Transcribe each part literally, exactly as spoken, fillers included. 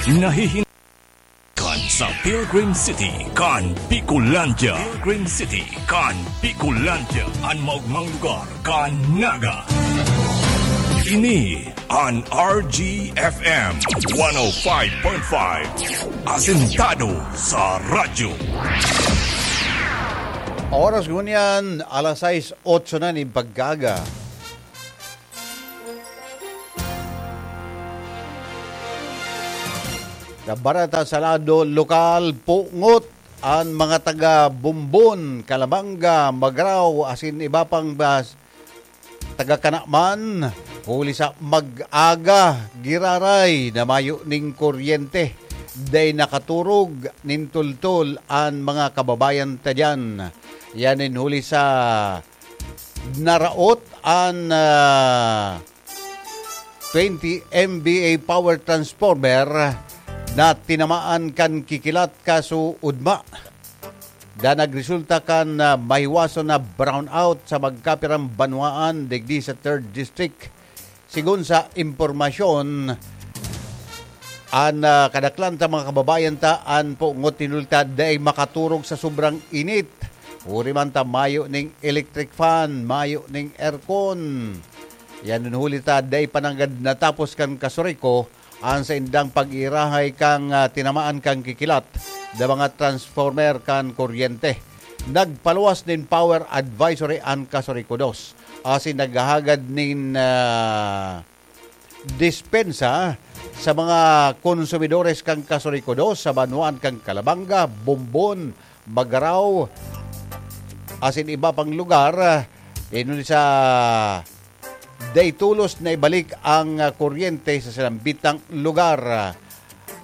Nahihin- kan sa Pilgrim City, kan Bicolandia. Pilgrim City, kan Bicolandia. An maogmang lugar, kan Naga. Ini an R G F M one oh five point five. Asentado sa radyo. Oras ngunyan, alas sais otso na nin pagkaaga. Sa bareta sa lado lokal, pungot an mga taga Bombon, Calabanga, Magrao, asin iba pang bas-, taga Canaman, huli sa mag-aga, giraray na mayo ning kuryente. Dai nakaturog nin tultol an mga kababayan ta diyan. Yan in huli sa naraot an, ah, twenty M V A power transformer na tinamaan kan kikilat kaso ugma da nagresulta kan, ah, mahiwason na brownout sa magkapirang banwaan digdi sa third District. Sigon sa impormasyon, an, ah, kadaklan ta mga kababayan ta, an pungot nin huli ta dai makaturog sa sobrang init. Huri man ta mayo ning electric fan, mayo ning aircon. Yan in huli ta dai pa nanggad natapos kan kasuriko an saindang pag-iirahay kan, ah, tinamaan kan kikilat da mga transformer kan kuryente. Nagpaluwas nin power advisory an kasuriko dos, asin naghahagad nin, ah, dispensa sa mga konsumidores kan kasuriko dos sa banwaan kan Calabanga, Bombon, Magarao, asin iba pang lugar. Inuli sa dai tolos na ibalik ang, ah, kuryente sa sinambitang lugar.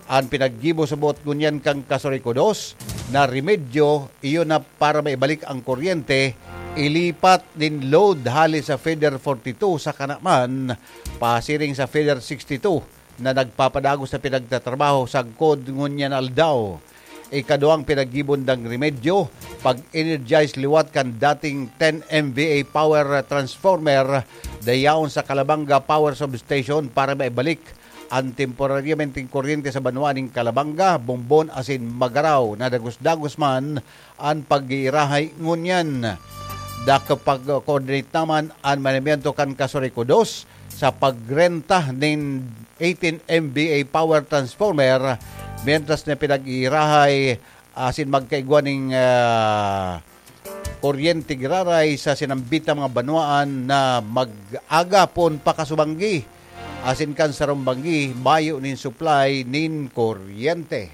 An pinaggibo sa buot ngunyan kan kasuriko dos na remedyo, iyo na para maibalik ang kuryente, ilipat nin load hali sa feeder forty-two sa Canaman, pasiring sa feeder sixty-two na nagpapadagos na pinagtatrabaho sagkod ngunyan aldaw. Ikaduwang pinaggibo nindang remedyo, pag-energize liwat kan dating ten M V A power transformer, dayaon sa Calabanga Power Substation para maibalik an temporaryamenteng kuryente sa banwaan nin Calabanga, Bombon asin Magarao. Nadagos-dagos man an pag-iirahay ngunyan. Nakapag-coordinate naman an manamiento kan kasuriko dos sa pagrenta nin eighteen M V A power transformer, mientras na pinag-iirahay asin magkaigwa ning, ah, kuryente giraray sa sinambitang mga banwaan na mag-aga pon pakasubanggi asin kan sarong banggi mayo nin supply nin kuryente.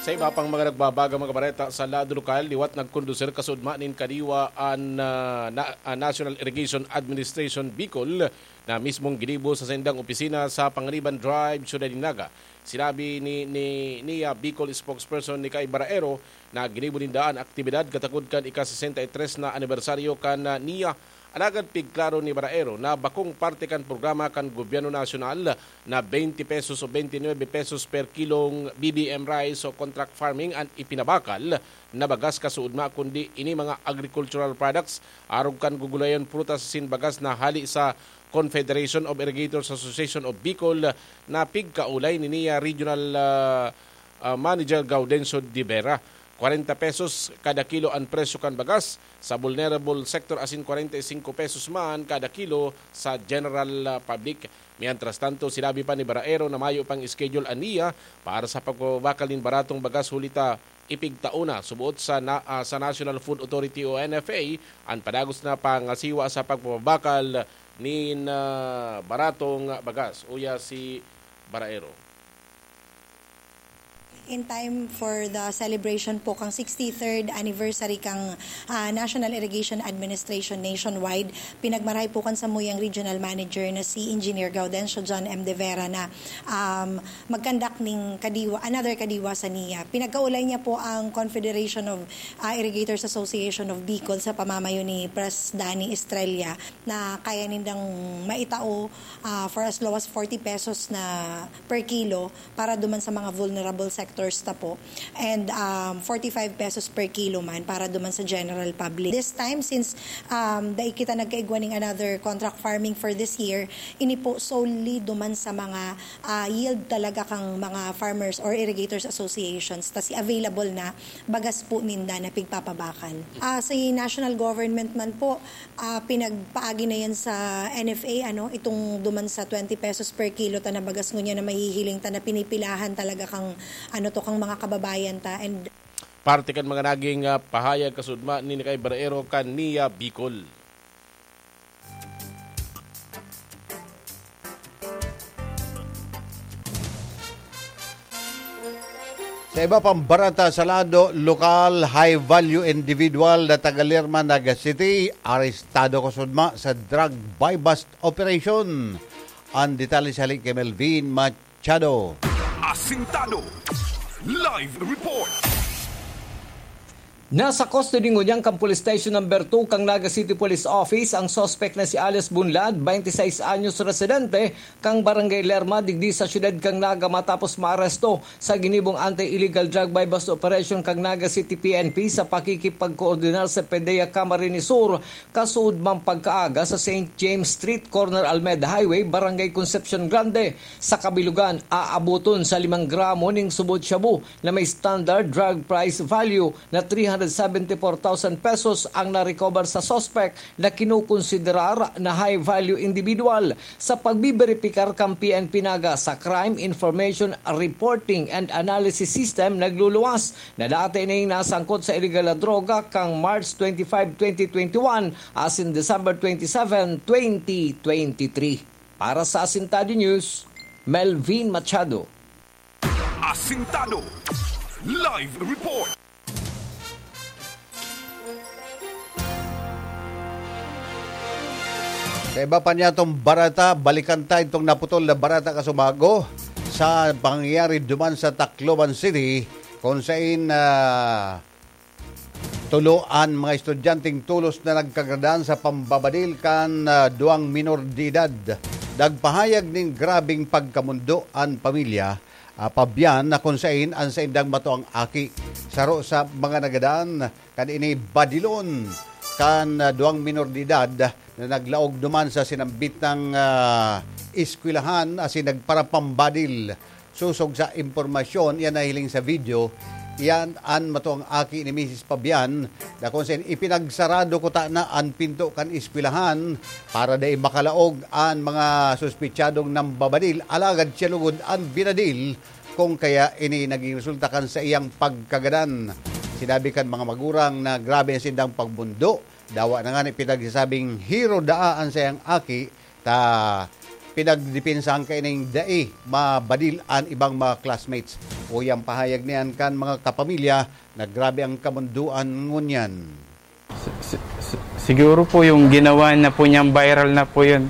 Sa iba pang mga nagbabagang mga bareta sa lado lokal, liwat nagkondusir kaso ugma nin kadiwa an, ah, na, ah, National Irrigation Administration Bicol na mismong ginibo sa saindang opisina sa Panganiban Drive, Ciudad de Naga. Sinabi ni, ni Nia Bicol spokesperson Nikay Baraero na ginibo ninda an aktibidad katakod kan ika-sesenta y tres na anibersaryo kan, ah, Nia. Alagad pigklaro ni Baraero na bakong parte kan programa kan gobyerno nasyonal na twenty pesos o twenty-nine pesos per kilong B B M rice o contract farming an ipinabakal na bagas kaso ugma, kundi ini mga agricultural products arog kan gugulayon, prutas asin bagas na hali sa Confederation of Irrigators Association of Bicol na pigkaulay ni Nia Regional, ah, ah, Manager Gaudencio de Vera. Kwarenta pesos kada kilo an presyo kan bagas sa vulnerable sector asin kwarenta y singko pesos man kada kilo sa general, ah, public. Mientras tanto, sinabi pa ni Baraero na mayo pang schedule an Nia para sa pagpapabakal nin baratong bagas, huli ta ipigtao na, suboot sa na, ah, sa National Food Authority o N F A, an padagos na pangasiwa sa pagpapabakal nin, ah, baratong bagas. Uya si Baraero. In time for the celebration po kang sixty-third anniversary kang, ah, National Irrigation Administration nationwide, pinagmarahay po kan samuyang regional manager na si Engineer Gaudencio John M. De Vera na, um, mag-conduct ning kadiwa, another kadiwa sa Nia. Pinagkaulay niya po ang Confederation of, ah, Irrigators Association of Bicol sa pamamayo ni Pres Danny Estrella na kaya nindang maitao, ah, for as low as forty pesos na per kilo para duman sa mga vulnerable sector Torsta po. And, um, forty-five pesos per kilo man para duman sa general public. This time, since, um, dai kita nagkaigwa ning another contract farming for this year, ini po solely duman sa mga, ah, yield talaga kang mga farmers or irrigators associations, tas available na bagas po ninda na pigpapabakal. Ah, si national government man po, ah, pinagpaagi na yan sa N F A, ano, itong duman sa twenty pesos per kilo ta na bagas ngunyan na mahihiling ta na pinipilahan talaga kang, ano to, kang mga kababayan ta. And Parte kan mga naging, ah, pahayag kasudma ni Nikay Barreiro kan Nia Bicol. Sa iba pang barata, sa lado lokal, high value individual na taga Lerma, Naga City, arestado kasudma sa drug buy-bust operation. Ang detalye sa hali kay Melvin Machado. Asintado. Live report. Nasa custody ngunyan kan Police Station Number two kan Naga City Police Office ang suspek na si alias Bunlad, twenty-six anyos, residente kan Barangay Lerma, digdi sa siyudad kan Naga, matapos maaresto sa ginibong anti-illegal drug buy-bust operation kan Naga City P N P sa pakikipagkoordinar sa PDEA Camarines Sur, kasuodmang pagkaaga sa Saint James Street, corner Almeda Highway, Barangay Concepcion Grande. Sa kabilugan, aaboton sa limang gramo ning subot shabu na may standard drug price value na three hundred seventy-four thousand pesos ang na-recover sa suspek na kinukonsiderar na high-value individual. Sa pagbiberipikar kan P N P Naga sa Crime Information Reporting and Analysis System, nagluluwas na dati ning nasangkot sa iligal na droga kan March twenty-five, twenty twenty-one, asin December twenty-seven, twenty twenty-three. Para sa Asintado News, Melvin Machado. Asintado. Live report. Sa iba pa niyatong barata, balikan ta itong naputol na barata kasubago sa pangyayari duman sa Tacloban City, kung sain, ah, tulo an mga estudyanteng tolos na nagkagradan sa pambabadil kan, ah, duwang minor de edad. Nagpahayag nin grabeng pagkamundo an pamilya, ah, Pabian, na kun saen an saindang matuang aki saro sa mga nagadan kan ini badilon kan, ah, duwang minor de edad na naglaog duman sa sinambitang, ah, eskwelahan asin nagparapambadil. Sosog sa impormasyon, iyan nahiling sa video, iyan an matuang aki ni Misis Pabian na kun saen ipinagsarado kutana an pinto kan eskwelahan para dai makalaog an mga suspetsadong nambabadil, alagad siya lugod an binadil, kung kaya ini naging resulta kan saiyang pagkagadan. Sinabi kan mga magurang na grabe an saindang pagbundo, dawa na ngani pinagsasabing hero daa an saiyang aki, ta pinagdepensahan kaining dai mabadil an ibang mga classmates. Uya an pahayag niyan kan mga kapamilya na grabe an kamundoan ngunyan. Si-, si-, si-, siguro po yung ginawa na po niyang viral na po yun,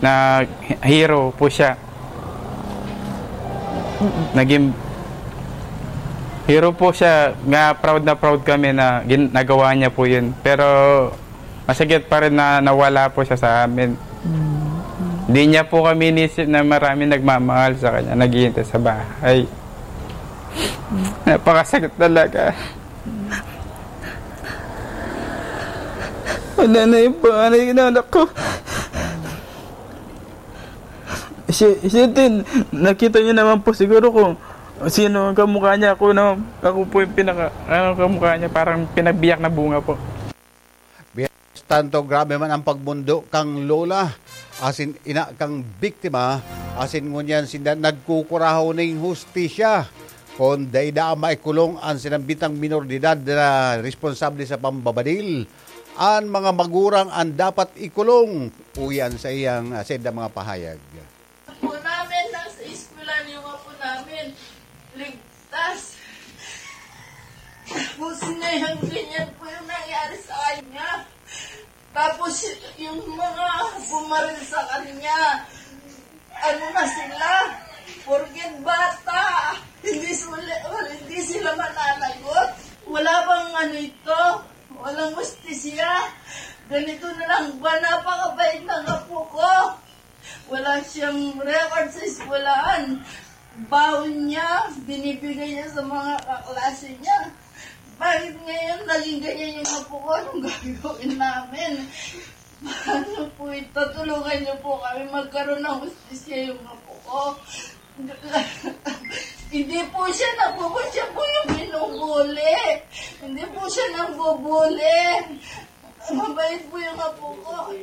na hero po siya. Naging hero po siya, nga proud na proud kami na gin-, nagawa niya po yun. Pero masakit pa rin na nawala po siya sa amin. Mm. Di niya po kami inisip na marami nagmamahal sa kanya, naghihintay sa bahay. Napakasakit talaga. Wala na yung panganay na anak ko. Si, si Tin, nakita niyo naman po siguro kung sino ang kamukha niya. Ako na, ako po yung pinaka, ano, kamukha niya, parang pinagbiyak na bunga po. Tanto grabe man ang pagbundo kang lola, asin ina kang biktima, asin ngunyan sinda nagkukurahaw ning hustisya. Kun dai daa maikulong an sinambitang minor de edad na responsable sa pambabadil, an mga magurang an dapat ikulong, uyan sa iyang, ah, saindang mga pahayag. Apo namin, nasa eskwela yung apo namin. Ligtas. Tapos ngayon, ganyan po yung nangyari sa kanya. Tapos y-, yung mga bumaril sa kanya, ano na sila, porket bata, hindi sila, hindi sila mananagot. Wala bang ano ito? Walang hustisya. Ganito na lang ba? Napakabait ng apo ko. Wala siyang record sa eskwelahan. Baon niya, binibigay niya sa mga kaklase niya. Bakit ngayon naging ganyan yung apo ko? Anong gagawin namin? Paano po ito? Tulungan niyo po kami magkaroon ng hustisya yung apo ko. Hindi po siya nagbubuti, siya po yung binubuli. Hindi po siya nang bubuli. Mabait po yung apo ko.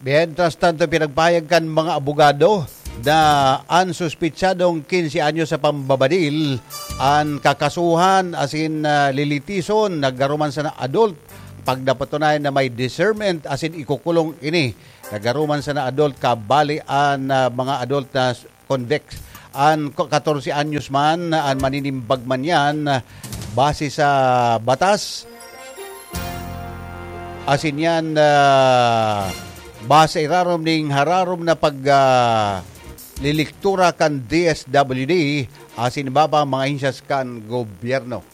Mientras tanto, pinagpahayag kan mga abogado na an suspitsadong quince anyos sa pambabadil an kakasuhan asin ah, lilitison nagkaruman sa adult pag napatunayan na may discernment asin ikukulong ini. Nagkaruman sa adult kabali an ah, mga adult na convicts. An ko- katorse anyos man, an maninimbag man yan, base sa batas. Asin yan, ah, base irarom ning hararom na pag ah, liliktura kan D S W D, asin iba pa ang mga ahensyas kan gobyerno.